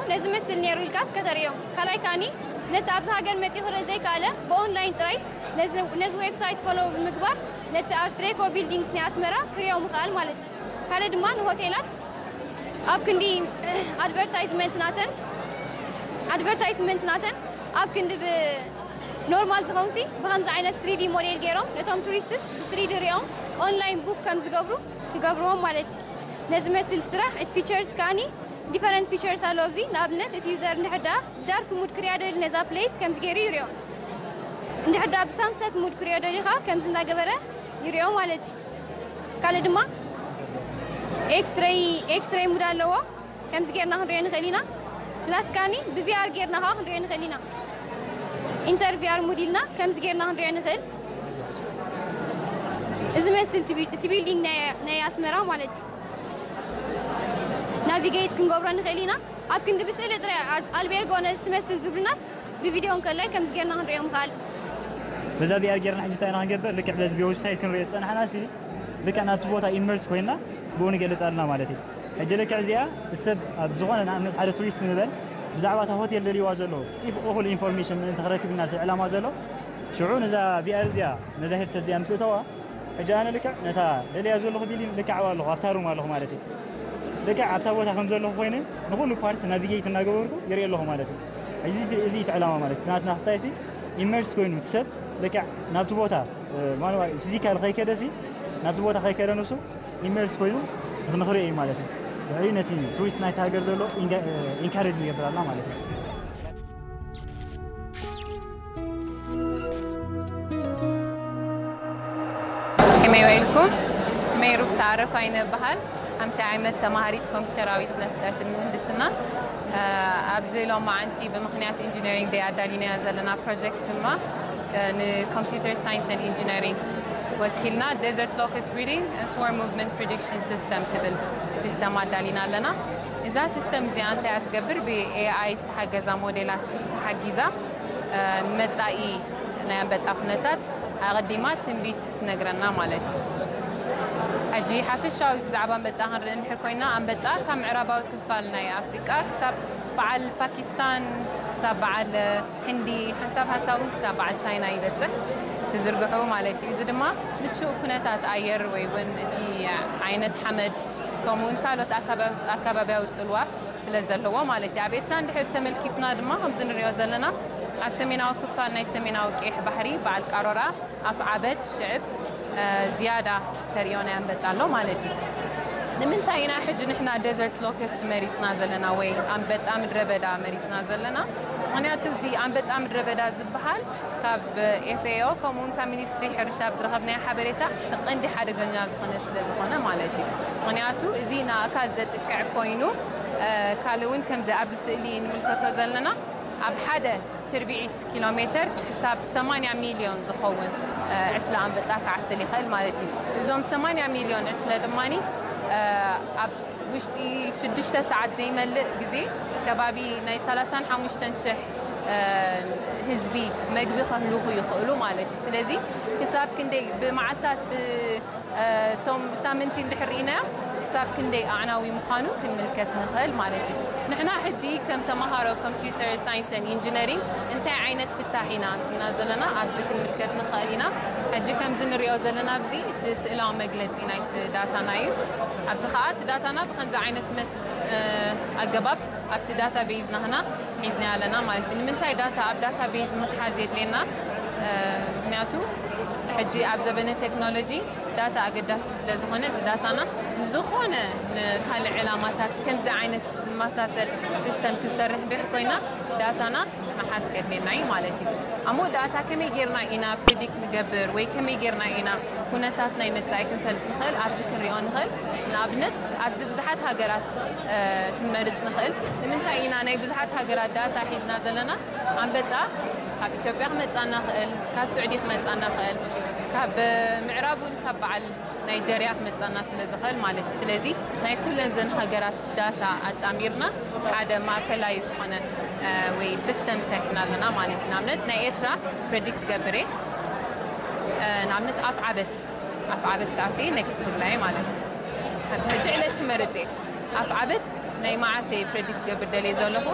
ነዚ መስል ነይሩ ኢልካስ ከተርእዮ። ካልኣይ ከኣኒ ነቲ ኣብዚ ሃገር መጺኡ ክርኢ ዘይከኣለ ብኦንላይን ጥራይ ነዚ ዌብሳይት ፎሎው ብምግባር ነቲ ኣርትሬኮ ቢልዲንግስ ናይ ኣስመራ ክርእዮ ምኽኣል ማለት እዩ። ካልእ ድማ ንሆቴላት ኣብ ክንዲ ኣድቨርታይዝመንት ናተን ኣድቨርታይዝመንት ናተን ኣብ ክንዲ ብኖርማል ዝኾንሲ ብከምዚ ዓይነት ስሪዲ ሞዴል ገይሮም ነቶም ቱሪስትስ ብስሪዲ ሪኦም ኦንላይን ቡክ ከም ዝገብሩ ክገብርዎም ማለት እዩ። ነዚ መስል ስራሕ እቲ ፊቸርስ ከኣኒ ዲፈረንት ፊቸርስ ኣለዎ። ኣብዚ ንኣብነት እቲ ዩዘር እንድሕር ደኣ ብዳርክ ሙድ ክሪያ ደሊ ነዛ ፕሌስ ከምዚ ገይሩ ይሪኦ። እንድሕር ደኣ ብሳንሰት ሙድ ክሪኦ ደሊ ከዓ ከምዚ እናገበረ ይሪኦ ማለት እዩ። ካልእ ድማ ኤክስሬይ ኤክስሬይ ሙድ ኣለዎ። ከምዚ ጌርና ክንሪኦ ንኽእል ኢና። ፕላስ ካኒ ብቪኣር ጌርና ከዓ ክንሪኦ ንኽእል ኢና። ኢንተር ቪኣር ሙድ ኢልና ከምዚ ጌርና ክንሪኦ ንኽእል። እዚ መስል እቲ ቢ- እቲ ቢልዲንግ ናይ ናይ ኣስመራ ማለት እዩ። ናቪጌት ክንገብሮ ንኽእል ኢና። ኣብ ክንዲ ብስእሊ ጥራይ ኣል- ኣልቤርጎ ነዚ ትመስል ዝብሉናስ ብቪድዮ እንከላይ ከምዚ ጌርና ክንሪኦ ምኽኣል። በዛ ቪኣር ጌርና ሕጂ እንታይ ኢና ክንገብር? ልክዕ በዚ ብዌብሳይት ክንሪኦ ዝጸናሕና ሲ ልክዕ ናብቲ ቦታ ኢመርስ ኮይና ብኡ ንገልጽ ኣለና ማለት እዩ። ሕጂ ልክዕ እዚኣ እቲ ሰብ ኣብ ዝኾነ ንኣብነት ሓደ ቱሪስት ንበል ብዛዕባ እታ ሆቴል ደልይዋ ዘሎ ኢፍ እኹል ኢንፎርሜሽን ምእንቲ ክረክብ ኢና እቲ ዕላማ ዘሎ። ሽዑ ነዛ ቪኣር እዚኣ ነዛ ሄድሰት እዚኣ ምስ እተዋ ሕጂ ኣነ ልክዕ ነታ ደልያ ዘለኹ ቢልዲንግ ልክዕ ኣብኣ ኣለኹ ኣብታ ሩም ኣለኹ ማለት እዩ። ልክዕ ኣብታ ቦታ ከም ዘለኹ ኮይነ ንኹሉ ፓርት ናቪጌት እናገበርኩ ይርኢ ኣለኹ ማለት እዩ። እዚ እዚ እቲ ዕላማ ማለት እዩ። ናትና ክስታይ ሲ ኢመርስ ኮይኑ እቲ ሰብ ልክዕ ናብቲ ቦታ ማንዋ ፊዚካል ከይከደ ሲ ናብቲ ቦታ ከይከደ ንሱ ኢመርስ ኮይኑ ንኽንኽሪኦ እዩ ማለት እዩ። ድሕሪ ነቲ ቱሪስት ናይቲ ሃገር ዘሎ ኢንካሬጅ ንገብር ኣለና ማለት እዩ። ከመይ ውዒልኩም? ስመይ ሩፍታ ኣረፋይነ እበሃል። ሓምሻይ ዓመት ተማሃሪት ኮምፒውተራዊ ስነ ፍልጠትን ምህንድስናን። ኣብዚ ሎማዓንቲ ብምኽንያት ኢንጂነሪንግ ደይ ኣዳሊናዮ ዘለና ፕሮጀክት ድማ ንኮምፒውተር ሳይንስን ኢንጂነሪንግ ወኪልና ዴዘርት ሎከስት ብሪዲንግ ስወርም ሙቭመንት ፕሪዲክሽን ሲስተም ትብል ሲስተም ኣዳሊና ኣለና። እዛ ሲስተም እዚኣ እንታይ እያ ትገብር? ብኤኣይ ዝተሓገዛ ሞዴላት ተሓጊዛ ንመጻኢ ናይ ኣንበጣ ኩነታት ኣቐዲማ ትንቢት ትነግረና ማለት እዩ። ሕጂ ሓፈሻዊ ብዛዕባ ኣንበጣ ክንርኢ እንድሕር ኮይና ኣንበጣ ካብ ምዕራባዊ ክፋል ናይ ኣፍሪቃ ክሳብ በዓል ፓኪስታን ክሳብ በዓል ህንዲ ሓንሳብ ሓንሳብ እውን ክሳብ በዓል ቻይና ይበፅሕ ትዝርግሑ ማለት እዩ። እዚ ድማ ምቹእ ኩነታት ኣየር ወይ እውን እቲ ዓይነት ሓመድ ከምኡ እውን ካልኦት ኣካባብያዊ ፅልዋ ስለ ዘለዎ ማለት እዩ። ኣብ ኤርትራ እንድሕር ተመልኪትና ድማ ከምዚ ንሪኦ ዘለና ኣብ ሰሜናዊ ክፋል ናይ ሰሜናዊ ቀይሕ ባሕሪ በዓል ቃሮራ ኣፍ ዓበት ሽዕብ ዝያዳ ተሪኦ ናይ ኣንበጣ ኣሎ ማለት እዩ። ንምንታይ ኢና ሕጂ ንሕና ደዘርት ሎከስት መሪፅና ዘለና ወይ ኣንበጣ ምድረ በዳ መሪፅና ዘለና? ምክንያቱ እዚ ኣንበጣ ምድረ በዳ ዝበሃል ካብ ኤፍኤኦ ከምኡ እውን ካብ ሚኒስትሪ ሕርሻ ኣብ ዝረኸብናዮ ሓበሬታ እቲ ቀንዲ ሓደገኛ ዝኾነ ስለ ዝኾነ ማለት እዩ። ምክንያቱ እዚ ንኣእካል ዘጥቅዕ ኮይኑ ካልእ እውን ከምዚ ኣብዚ ስእሊ ንምልከቶ ዘለና ኣብ ሓደ ትርብዒት ኪሎ ሜተር ክሳብ ሰማንያ ሚልዮን ዝኸውን ዕስለ ኣንበጣ ክዓስል ይኽእል ማለት እዩ። እዞም ሰማንያ ሚልዮን ዕስለ ድማ ኣብ ውሽጢ ሽዱሽተ ሰዓት ዘይመልእ ግዜ ከባቢ ናይ ሰላሳን ሓሙሽተን ሽሕ ህዝቢ መግቢ ከህልኹ ይኽእሉ ማለት እዩ። ስለዚ ክሳብ ክንደይ ብመዓልታት ብሳምንቲ እንድሕር ርኢናዮ ክሳብ ክንደይ ኣዕናዊ ምዃኑ ክንምልከት ንኽእል ማለት እዩ። ንሕና ሕጂ ከም ተምሃሮ ኮምፒውተር ሳይንስን ኢንጂነሪንግ እንታይ ዓይነት ፍታሕ ኢና ኣምፂና ዘለና ኣብዚ ክንምልከት ንኽእል ኢና። ሕጂ ከምዚ ንሪኦ ዘለና ኣብዚ እቲ ስእላዊ መግለፂ ናይቲ ዳታና እዩ። ኣብዚ ከዓ እቲ ዳታና ብከምዚ ዓይነት መስ ኣገባብ ኣብቲ ዳታ ቤዝ ናህና ሒዝና ኣለና ማለት እዩ። ንምንታይ ዳታ ኣብ ዳታ ቤዝ ምትሓዝ የድልየና? ምክንያቱ ሕጂ ኣብ ዘበነ ቴክኖሎጂ ዳታ ኣገዳሲ ስለ ዝኾነ እዚ ዳታና ንዝኾነ ንካልእ ዕላማታት ከምዚ ዓይነት ዝመሳሰል ሲስተም ክንሰርሕ ድሕር ኮይና ዳታና ምሓዝ ከድልየና እዩ ማለት እዩ። ኣሞ ዳታ ከመይ ጌርና ኢና ፕሪዲክት ንገብር ወይ ከመይ ጌርና ኢና ኩነታት ናይ መጻኢ ክንፈልጥ ንኽእል? ኣብዚ ክንሪኦ ንኽእል። ንኣብነት ኣብዚ ብዙሓት ሃገራት ክንመርጽ ንኽእል። ንምንታይ ኢና ናይ ብዙሓት ሃገራት ዳታ ሒዝና ዘለና? ኣንበጣ ካብ ኢትዮጵያ ክመጻና ይኽእል፣ ካብ ስዑዲ ክመጻና ይኽእል፣ ካብ ምዕራብ እውን ካብ በዓል ናይጀርያ ክመጻና ስለ ዝኽእል ማለት እዩ። ስለዚ ናይ ኩለን ዘን ሃገራት ዳታ ኣጣሚርና ሓደ ማእከላይ ዝኾነ ወይ ሲስተም ሰሪሕና ኣለና ማለት እዩ። ንኣብነት ናይ ኤርትራ ፕሬዲክት ክገብር እየ። ንኣብነት ኣፍ ዓበት ኣፍ ዓበት ክኣቲ ኔክስት ክብላ እየ ማለት እዩ። ኣብዚ ሕጂ ዕለት ክመርጽ እየ። ኣፍ ዓበት ናይ መዓስ እየ ፕሬዲክት ክገብር ደልየ ዘለኹ?